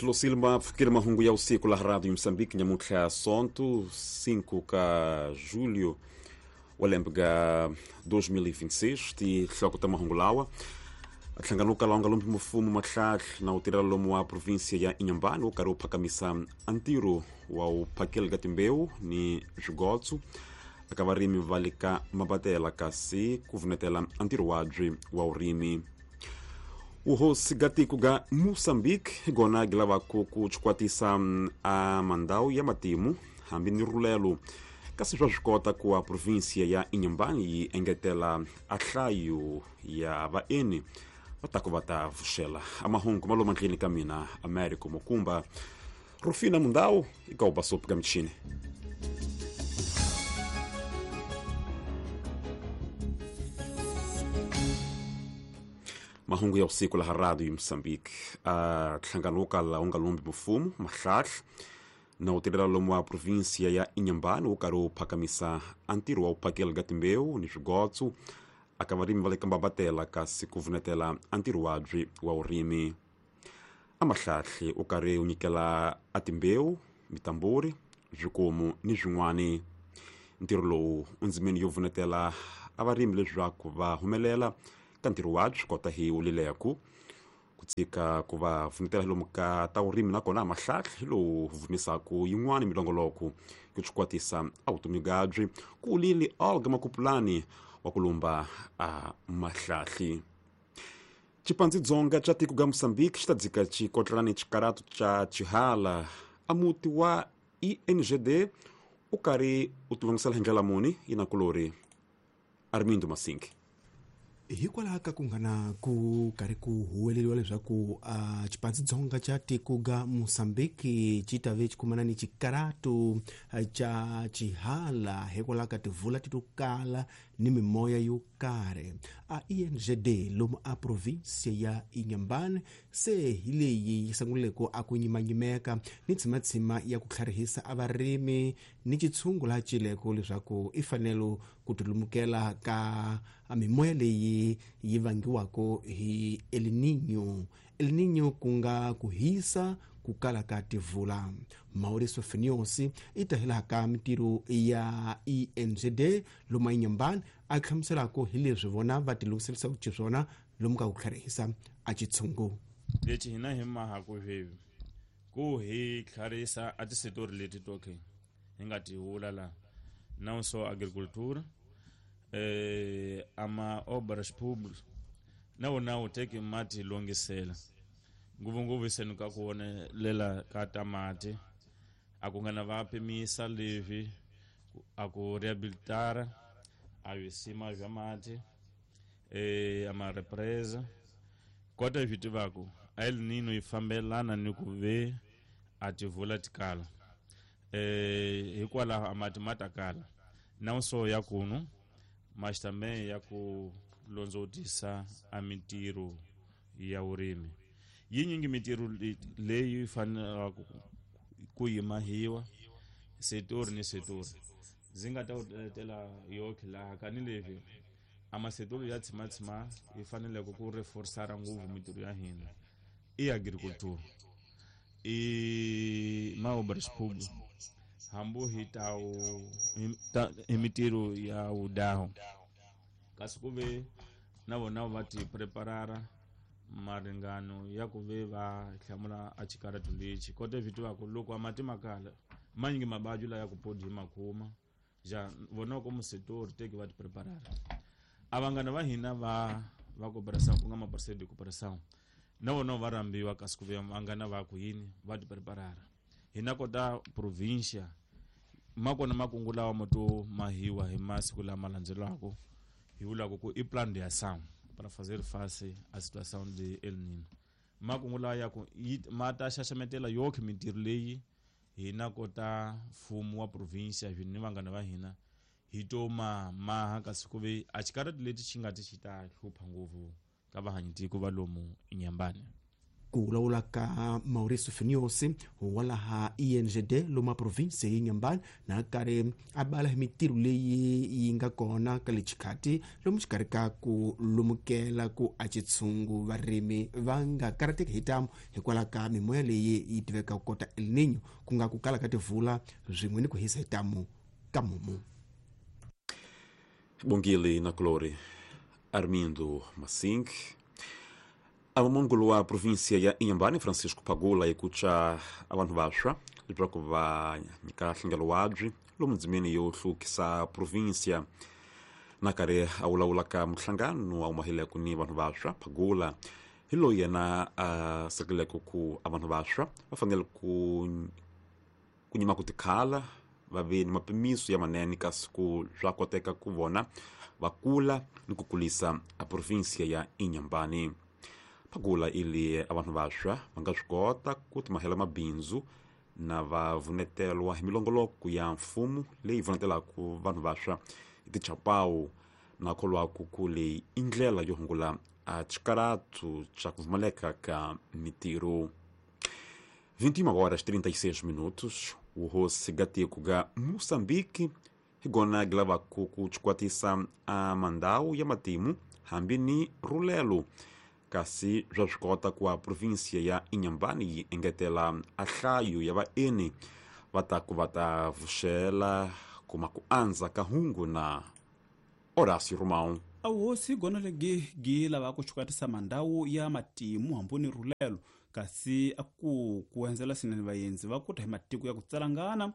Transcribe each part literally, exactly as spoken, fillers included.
Lucilma pfukile mahungu ya usiku la Radio Moçambique nyamuntlha Sonto cinco ka julho wa lembe ga dois mil e vinte e seis ti hloko ta mahungu lawa nhlangano ka lawanga lombi mfumo matlhahla na u tirhela lomu wa província ya Inhambane wu karhi wu phakamisa ntirho wa u phakela ka timbewu ni swigotso eka varimi va le ka Mabatela kasi ku vunetela ntirho wabyi wa vurimi. Uhosi ga tiko ga Moçambique hi gona gi lavaku ku chikwatisa a mandhawu ya matimu hambi ni rulelo kasi swa swi kota ku wa província ya Inhambane yi engetela a nhlayo ya vaeni va ta ku va ta vuxela a mahungu ma lomu ndleni ka mina Américo Mukumba Rufina Mundau eka u basopi ka michini. Mahungu ya usiku la Radio Moçambique a nhlangano wo kala wu nga lombi mfumo mahlahla na u tirhela lomu wa província ya Inhambane wu karhi wu phakamisa a ntirho wa u phakela ka timbewu ni swigotso aka varimi va le ka Mabatela kasi ku vunetela a ntirho wabyi wa vurimi. A mahlahli u karhi u nyikela a timbewu mitamburi swikomu ni swin'wani. Ntirho lowu u ndzimeni yo vunetela a varimi leswaku va humelela ka ntirho wabyi kota hi wulileku ku tshika ku va vunetela lomu ka ta vurimi nakona mahlahla hi lowu vumisaku yin'wani milongoloko ku chikwatisa a vutomi byabyi ku wulile Olga Makupulani wa ku lumba a mahlahli. Chipanzi dzonga cha tiko ga Moçambique xi ta dzika xikotlelani xikaratu xa Chihala a muti wa I N G D u karhi u tilungisela hi ndlela muni yinakulori Armindo Masinki. Hikwalaho ka ku nga na ku karhi ku huweleriwa leswaku uh, xipandzidzonga xa tiko ga Moçambique xi ta ve xi kumana ni xikaratu xa xihala hikwalaho ka tivula ti to kala ni mimoya yo karhi. A I N G D lomu a província ya Inhambane se hi leyi yi sunguleke a ku nyimanyimeka ni tshimatshima ya ku tlharihisa a varimi ni xitshungu laha cileko leswaku i fanele ku tilumukela ka mimoya leyi yi vangiwaka hi El Niño. El Niño ku nga ku hisa ku kala ka tivula. Mauricio Finiosi i tahela ka mintirho ya I N G D lomu Inhambane a hlamuselaka hi leswi vona va tilunghiselisaka xiswona lomu ka ku tlharihisa a xitshungu. Lexi hina hi mahaku sweswi ku hi tlharihisa a tisitori leti toke hi nga ti vula la não só agricultura eh, ama obras públicas na wona wu teki mati longisela ngopfungopfu iseni ka ku vonelela ka tamati a ku nga na va pimisa leswi a ku rehabilitara a visima bya mati eh, ama represa kota swi tivaku a El Niño yi fambelana ni ku ve a tivula tikala eh, hikwalaho a mati ma ta kala não só ya kunu mas também ya ku londzotisa a mintirho ya vurimi. Yinyingi mintirho leyi fanelaka ku yimahiwa setori ni setori ndzi nga ta u letela yoke laha kani leswi a masetori ya tshimatshima yi faneleke ku reforsara ngopfu mintirho ya hina i agriculture i maobras públicas hambu hi ta hi mintirho ya vudaho kasi ku ve na vona va ti preparara maringano ya ku ve va hlamula a xikaratu lexi kota swi tivaka loko a mati ma kala manyingi mabaju la ya ku podi hi makhuma ja vona ko musetori teki va ti preparara a vanghana va hina va va cooperação ku nga maparceiro de cooperação na vona va rambiwa kasi ku ve vanghana va ku yini va ti preparara hina kota província makona makungu lawa mo to mahiwa hi masiku lama landzelaka hi vulaka ku i plan de ação para fazer face à situação de El Niño. Makungu lawa ya ku ma ta xaxametela yoke mintirho leyi hina kota mfumo wa província ni vanghana va hina hi to ma maha kasi ku ve a xikarati leti xi nga ti xi ta hlupha ngopfu ka vahanyitiko va lomu Inhambane. Ku vulavula ka Mauricio Finiosi wa laha I N G D lomu province ya Inhambane na karhi a bala hi mitirho leyi yi nga kona ka le xikhati lomu xikarhi ka ku lumukela ku a xitshungu varimi va nga karhateki hi tamu hikwalaho ka mimoya leyi yi tiveka ku kota El Niño ku nga ku kala ka tivula swin'we ni ku hisa hi tamu ka mumu. Bongile na Glory Armindo Massing. Amamongolo wa província ya Inhambane Francisco Pagula ekucha abantu vantshwa leswaku va nyika nhlengelo wabyi lomu ndzimeni yo hluvukisa província. Na karhi a vulavula ka muhlangano a humahileke ni vanhu vantshwa, Pagula hi loyi yena a sekeleke ku a vanhu vantshwa va fanele ku ku nyima ku tikhala va ve ni mapimiso ya manene kasi ku swa koteka ku vona va kula ni ku kulisa a província ya Inhambane. Pagula ili abantu vantshwa va nga swi kota ku timahela mabindzu na va vunetelwa hi milongoloko ya mfumo leyi vunetelaka vanhu vantshwa hi tichapawu na kholwaku ku leyi i ndlela yo hungula a xikaratu xa ku pfumaleka ka mitirho. vinte e uma horas trinta e seis minutos, o hosi gatiko ga Moçambique higona gilavaku ku xikwatisa a mandau ya matimu hambi ni rulelo kasi swa swi kota ku a província ya Inhambane yi engetela a nhlayo ya vaeni va ta ku va ta vuxela kuma ku andza ka hungu na Horácio Romão. A hosi gona legi gi lava ku xikatisa mandau ya matimu hambi ni rulelo kasi a ku ku endzela swinene vaendzi va kuta hi matiko ya ku tsalangana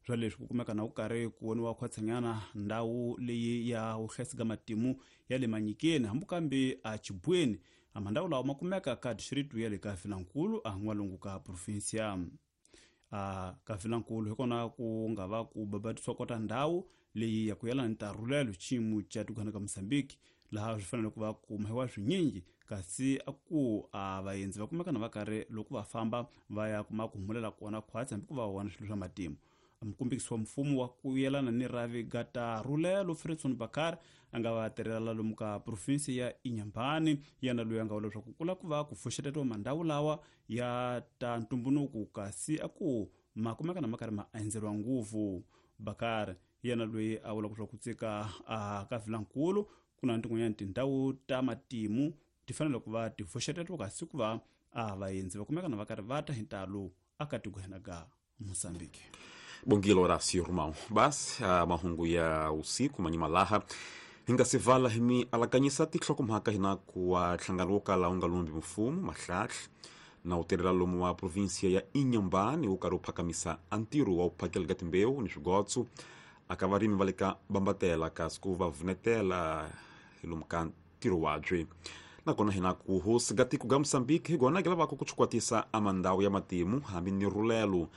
swa leswi ku kumeka na ku karhi ku voniwa khwatsanyana ndhawu leyi ya vuhlayisi matimu ya le Manyikeni hambi kambe a Chibweni. A mandhawu lawa ma kumeka ka district ya le ka Vilankulu a n'walungu ka provinsia. A ka Vilankulu hi kona ku nga va ku babatisiwa kota ndhawu leyi ya ku yelana ni tarulelo xiyimo xa tikwana ka Mozambique laha swi fanele ku va ku mahiwa swinyingi kasi a ku a vaendzi va kumeka na va karhi loko va famba va ya kuma ku humulela kona khwatsi hambi ku va vona swilo swa matimu. Mukombekisi wa mfumo wa ku yelana ni ravi gata rulelo Fredson Bakar a nga va tirhela lomu ka provinsi ya Inhambane yena loyi a nga vula leswaku ku lava ku va ku pfuxetetiwa mandhawu lawa ya ta ntumbuluko kasi a ku ma kumeka na ma karhi ma endzeriwa ngopfu. Bakar yena loyi a vula leswaku tsika a ka Vilankulu ku na tin'wanyana tindhawu ta matimu ti fanele ku va ti pfuxetetiwa kasi ku va a vaendzi va kumeka na va karhi va ta hi ntalo aka tikweni ka Mozambique. Bongile Horácio Romão. Basi a mahungu ya usiku manyimalaha hinga sivala himi alakanyisa tinhlokomhaka hina ku wa nhlangano wo kala wu nga lumbi mfumo mahlahla na wu tirhela lomu wa província ya Inhambane wu karhi wu phakamisa a ntirho wa ku phakela ka timbewu ni swigotso aka varimi va le ka bambatela kasi ku va vunetela hi lomu ka ntirho wabyi. Nakona hina ku hosi ga tiko ga Mozambique hi gona gi lavaka ku xikwatisa a mandhawu ya matimu hambi ni rulelo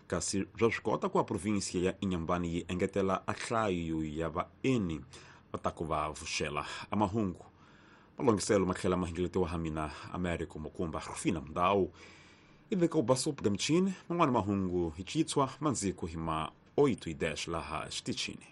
kasi swa swi kota ku a província ya Inhambane yi engetela a nhlayo ya vaeni va ta ku va vuxela a mahungu malongiselo ma tlhela ma hingeletiwa ha mina Américo Mukumba Rufina Mundau i veka u basopo ga michini man'wana mahungu hi chitshwa mandziko hi ma oito e dez laha xitichini.